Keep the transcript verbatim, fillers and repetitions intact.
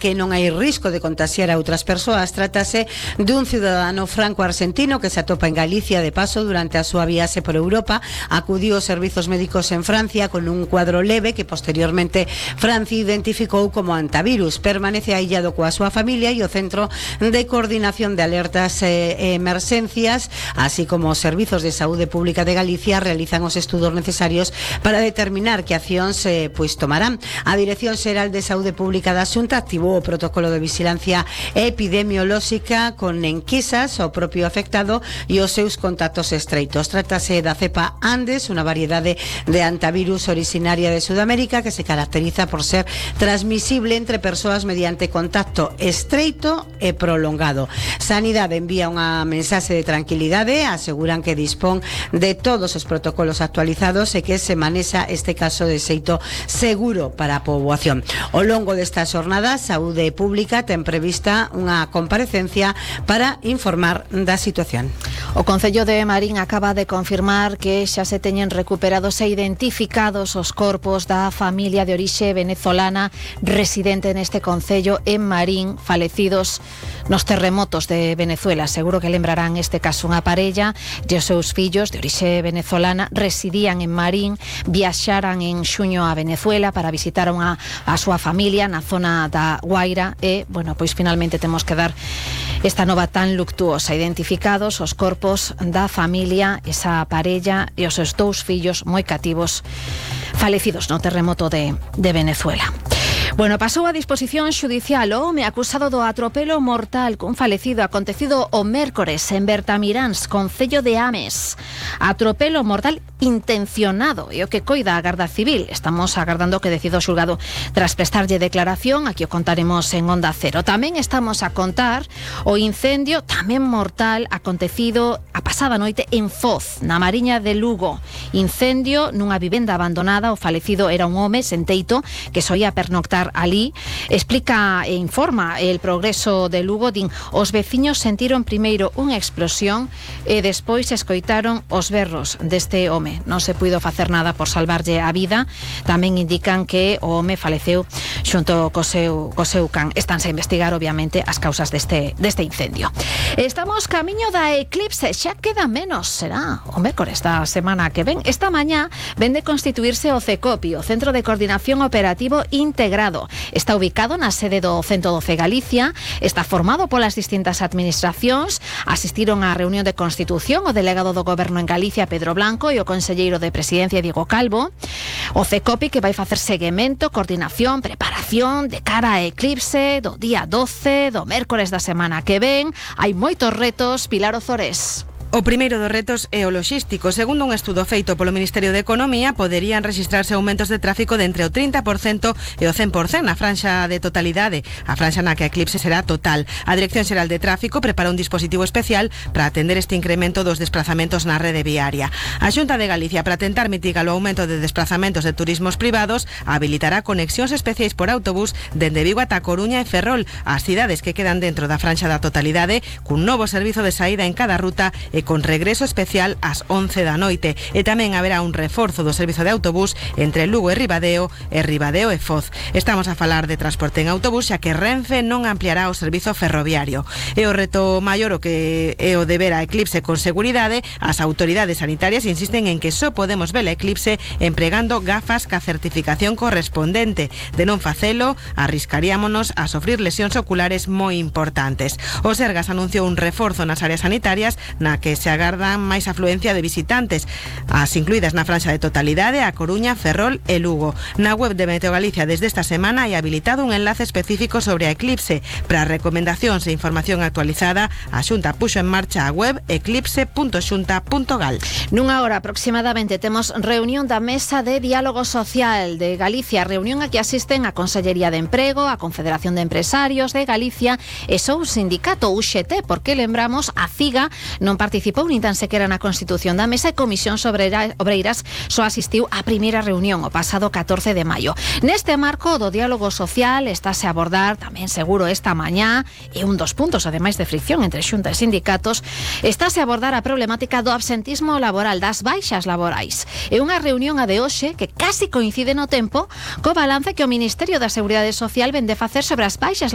que non hai risco de contagiar a outras persoas. Trátase dun cidadano franco-argentino que se atopa en Galicia de paso durante a súa viaxe por Europa. Acudiu aos servizos médicos en Francia con un cuadro leve que posteriormente Francia identificou como antivirus. Permanece aillado coa súa familia e o Centro de Coordinación de Alertas e Emerxencias, así como os Servizos de Saúde Pública de Galicia, realizan os estudos necesarios para determinar que accións eh, pois tomarán. A Dirección Xeral de Saúde Pública da Xunta activou o protocolo de vigilancia epidemiolóxica con enquisas ao propio afectado e os seus contactos estreitos. Trátase da cepa Andes, unha variedade de antivirus originaria de Sudamérica que se caracteriza por ser transmisible entre persoas mediante contacto estreito e prolongado. Sanidade envía unha mensaxe de tranquilidade, aseguran que dispón de todos os protocolos actualizados e que se manexa este caso de xeito seguro para a poboación. Ao longo desta xornada, Saúde Pública ten prevista unha comparecencia para informar da situación. O Concello de Marín acaba de confirmar que xa se teñen recuperados e identificados os corpos da familia de orixe venezolana residente neste concello en Marín, falecidos nos terremotos de Venezuela. Seguro que lembrarán este caso. Unha parella e os seus fillos de orixe venezolana residían en Marín, viaxaran en xuño a Venezuela para visitar unha, a súa familia na zona da Guaira e, bueno, pois finalmente temos que dar esta nova tan luctuosa. Identificados os corpos da familia, esa parella e os seus dous fillos moi cativos falecidos no terremoto de, de Venezuela. Bueno, pasou a disposición xudicial o home acusado do atropelo mortal cun falecido acontecido o mércores en Bertamiráns, concello de Ames. Atropelo mortal intencionado e o que coida a Garda Civil. Estamos agardando que decida o xulgado tras prestarlle declaración. Aquí o contaremos en Onda Cero. Tamén estamos a contar o incendio tamén mortal acontecido a pasada noite en Foz, na Mariña de Lugo. Incendio nunha vivenda abandonada. O falecido era un home sen teito que soía pernoctar alí. Explica e informa el Progreso de Lugo. Din, os veciños sentiron primeiro unha explosión e despois escoitaron os berros deste home. Non se puido facer nada por salvarlle a vida. Tamén indican que o home faleceu xunto co seu, co seu can. Estánse a investigar, obviamente, as causas deste, deste incendio. Estamos camiño da eclipse. Xa queda menos, será o mércores da semana que ven. Esta mañá ven de constituirse o CECOPI, o Centro de Coordinación Operativo Integrado. Está ubicado na sede do Centro doce Galicia, está formado polas distintas administracións. Asistiron á reunión de constitución o delegado do Goberno en Galicia, Pedro Blanco, e o conselleiro de Presidencia, Diego Calvo. O CECOPI que vai facer seguimento, coordinación, preparación de cara a eclipse do día doce, do mércores da semana que ven. Hai moitos retos. Pilar Ozores. O primeiro dos retos é o logístico. Segundo un estudo feito polo Ministerio de Economía, poderían registrarse aumentos de tráfico de entre o trinta por cento e o cen por cento na franxa de totalidade, a franxa na que a eclipse será total. A Dirección Xeral de Tráfico prepara un dispositivo especial para atender este incremento dos desplazamentos na rede viaria. A Xunta de Galicia, para tentar mitigar o aumento de desplazamentos de turismos privados, habilitará conexións especiais por autobús dende Vigo ata Coruña e Ferrol, as cidades que quedan dentro da franxa da totalidade, cun novo servizo de saída en cada ruta e con regreso especial ás once da noite. E tamén haberá un reforzo do servizo de autobús entre Lugo e Ribadeo e Ribadeo e Foz. Estamos a falar de transporte en autobús, xa que Renfe non ampliará o servizo ferroviario. E o reto maior o que é o de ver a eclipse con seguridade. As autoridades sanitarias insisten en que só podemos ver a eclipse empregando gafas ca certificación correspondente. De non facelo, arriscaríamonos a sofrir lesións oculares moi importantes. O Sergas anunciou un reforzo nas áreas sanitarias na que se agardan máis afluencia de visitantes, as incluídas na franxa de totalidade a Coruña, Ferrol e Lugo. Na web de Meteo Galicia desde esta semana hai habilitado un enlace específico sobre a eclipse. Para recomendacións e información actualizada, a Xunta puxo en marcha a web eclipse punto xunta punto gal. Nunha hora aproximadamente temos reunión da Mesa de Diálogo Social de Galicia, reunión a que asisten a Consellería de Emprego, a Confederación de Empresarios de Galicia e só o sindicato U X T, porque lembramos a CIGA non participa participou nin tan sequera na constitución da mesa e Comisión Obreiras só asistiu á primeira reunión o pasado catorce de maio. Neste marco do diálogo social estáse a abordar tamén seguro esta mañá, e un dos puntos ademais de fricción entre Xunta e sindicatos, estáse a abordar a problemática do absentismo laboral, das baixas laborais. É unha reunión a de hoxe que casi coincide no tempo co balance que o Ministerio da Seguridade Social vende facer sobre as baixas laborais